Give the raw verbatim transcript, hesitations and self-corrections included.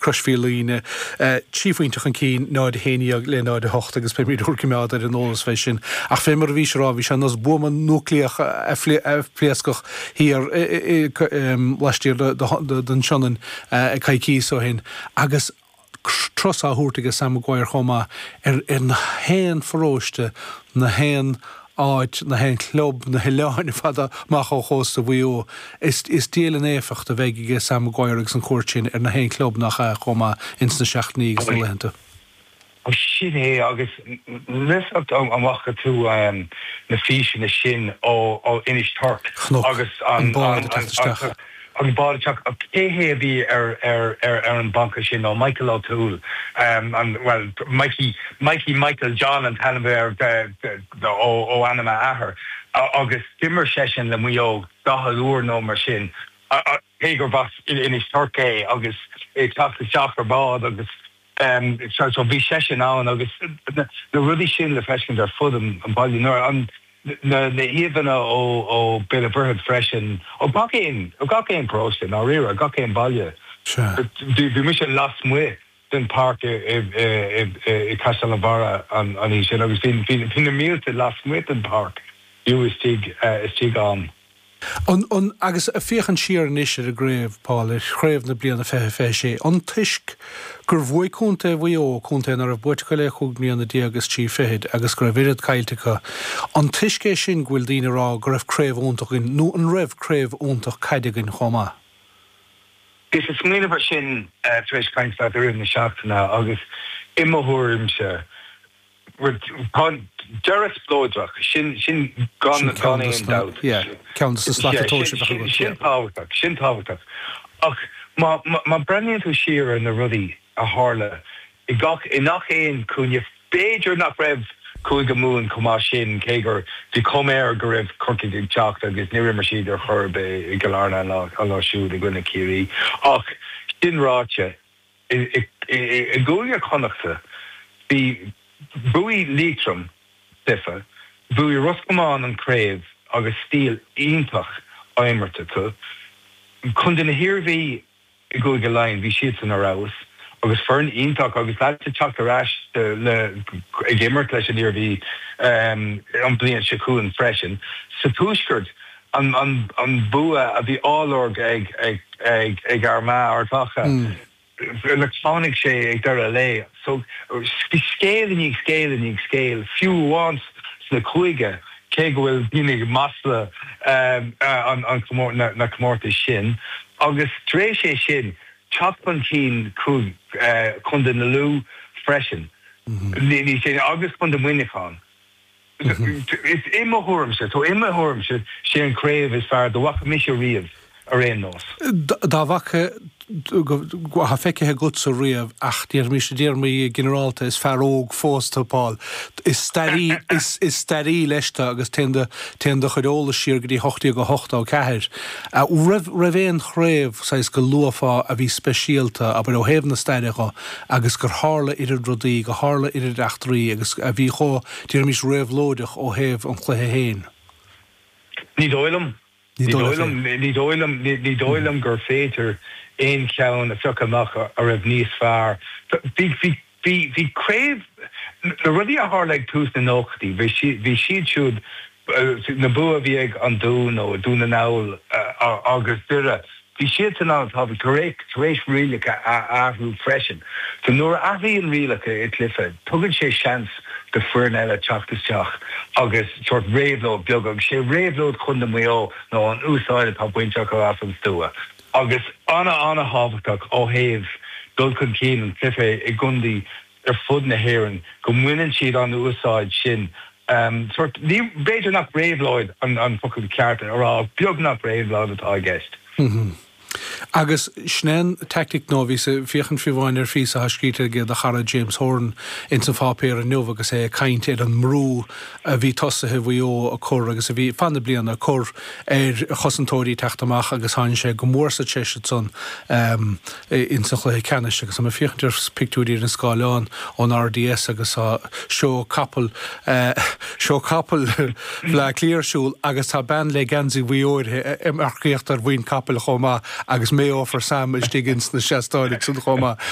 Croismhíl Trí phointe chun cinn náid a haon déag le náid a hocht agus beimid úr gcoimeád ar an eolas fé sin. Ach fé mar a bhís ag rá, bhí sé ar nós buama núicléach a phléascadh thiar laistiar den Sionainn coicíos ó shin agus turas á thabhairt aige Sam Maguire chomh maith ar ar na haon pharóiste, na haon áit, na haon chlub, na hoileáin ar fad amach ó chósta Mhaigh Eo. Is is diail an éifeacht a bheidh aige Sam Maguire agus an chuairt sin ar na haon chlub nach ea chomh maith ins na seachtainí agus na laethanta. Sin é agus níos amach tú na físeanna sin ó ó Inis Toirc agus an bád ag teacht isteach. An bád ag teacht cé hé a bhí ar ar ar ar an bhanca sin nó Michael O'Toole um, an well Mikey Mikey Michael John an t-ainm air ó ó ainm a athar agus d'imir seisean le Maigh Eo daichead uair nó mar sin cé gur as Inis Toirc é agus é teacht isteach ar bád agus um, so, so bhí seisean ann agus na, na rudaí sin le feiscint ar fud an, an baile nuair an na na híomhánna ó ó Béal Mhuirthead freisin ó gach aon ó gach aon paróiste ná riar gach aon baile. Bhí mise lasmuigh den páirc i Caisleán an Bharraigh an an sin agus bhí na mílte lasmuigh den páirc fiú istigh istigh ann. An, an, agus féachaint siar anois ar an gcraobh Paul ar chraobh na bliana fiche fiche sé, an toisc gur bhuaigh Contae Mhaigh Eo contae nach raibh buaite acu le cúig mbliana déag is trí fichid agus go raibh oiread caillte acu, an toisc é sin go bhfuil daoine ag rá go raibh craobh iontach againn nó an raibh craobh iontach caide againn chomh maith? Is is smaoineamh sin tar éis caint leat i rith na seachtaine agus i mo thuairimse tá deireadh spleodrach sin sin gan gan aon dabht. Ceann de na slata sin tábhachtach sin tábhachtach ach má má breathnaíonn tú siar ar na rudaí a tharla i gach i ngach aon chúinne b'fhéidir nach raibh Cúige Mumhan chomh maith sin cé gur bhí cuma air go raibh Corcaigh ag teacht agus ní raibh siad ar chor i gCill Airne an lá siúd i gcoinne Ciarraí ach sin ráite i gCúige Chonnachta bhí bhuaigh Liatroim cluiche, bhuaigh Ros Comáin an craobh agus stíl iontach á imirt acu. Contae na hIarmhí i gCúige Laighean bhí siad san ar fheabhas agus foireann iontach agus leat teacht ar ais le ag imirt leis an Iarmhí um, an bliain seo chugainn freisin. Sa tuaisceart an, an, an bua a bhí á lorg ag ag ag ag Armagh Ard Mhacha. Mm. le tháinig sé ag deireadh lae so bhí scéal i ndiaidh scéal i ndiaidh scéil fiú amháin sna cúige cé go bhfuil daoine ag masla um, an, an na, na comórtais sin agus tar éis é sin teacht chun cinn Contae na Lú freisin ní sin agus Contae Mhuineacháin. Is i mo thuairimse so i mo thuairimse sé an craobh is fearr dá bhfaca mise riamh ar aon nós. Dá bhfaca ha feicthe agatsa riamh ach déarfaimis i dtéarmaí ginearálta is fear óg fós tú Paul. Is staraí is is staraí leis tú agus téann téann do chuid eolais siar go dtí hocht déag ochtó ceathair. Raibh raibh aon chraobh saghas go luafá a bhí speisialta abair ó thaobh na staire dhe agus gur tharla oiread rudaí go tharla oiread eachtraí agus a bhí chomh déarfaimis réabhlóideach ó thaobh an chluiche féin. Ní dóigh liom Ní ní dóigh liom ní dóigh liom gur féidir aon cheann a phiocadh amach a raibh níos fearr. Bhí bhí bhí bhí craobh na rudaí a tharla ag tús na nóchaidí, bhí siad siúd na bua bhí ag an Dún nó Dún na nGall agus Doire. Bhí siad san an-tábhachtach tar tar éis rialacha a athrú freisin. So nuair a athraíonn rialacha i gcluiche, tugann sé seans do foireann eile teacht isteach agus sort réabhlóid beag agus sé réabhlóid Chontae Mhaigh Eo nó an úsáid atá bainte acu as an stua. Agus ana ana-thábhachtach ó thaobh dul chun cinn an chluiche i gcontaetha ar fud na hÉireann go mbaineann siad an úsáid sin um, sort ní b'fhéidir nach réabhlóid an, an focal ceart a rá beagnach réabhlóid atá i gceist. Mm -hmm. Agus sin é an tactic nó bhí ag féachaint fiú amháin ar phíosa atá scríte ag do chara James Horan ins an pháipéar inniu agus é ag caint ar an mbrú a bhí tosaithe Mhaigh Eo a chur agus a bhí fan na bliana a chur ar chosantóirí teacht amach agus tháinig sé go mór sa treis san um, ins an chluiche ceannais agus ag féachaint ar pictiúirí ar an scáileán ón RDS agus tá seó capall uh, seó capall Bhleá Cliath ar siúl agus tá bean le geansaí Mhaigh Eo ag marcaíocht ar mhuin capaill chomh maith agus Mayo for Sam istigh ins na seastáin san chomh maith.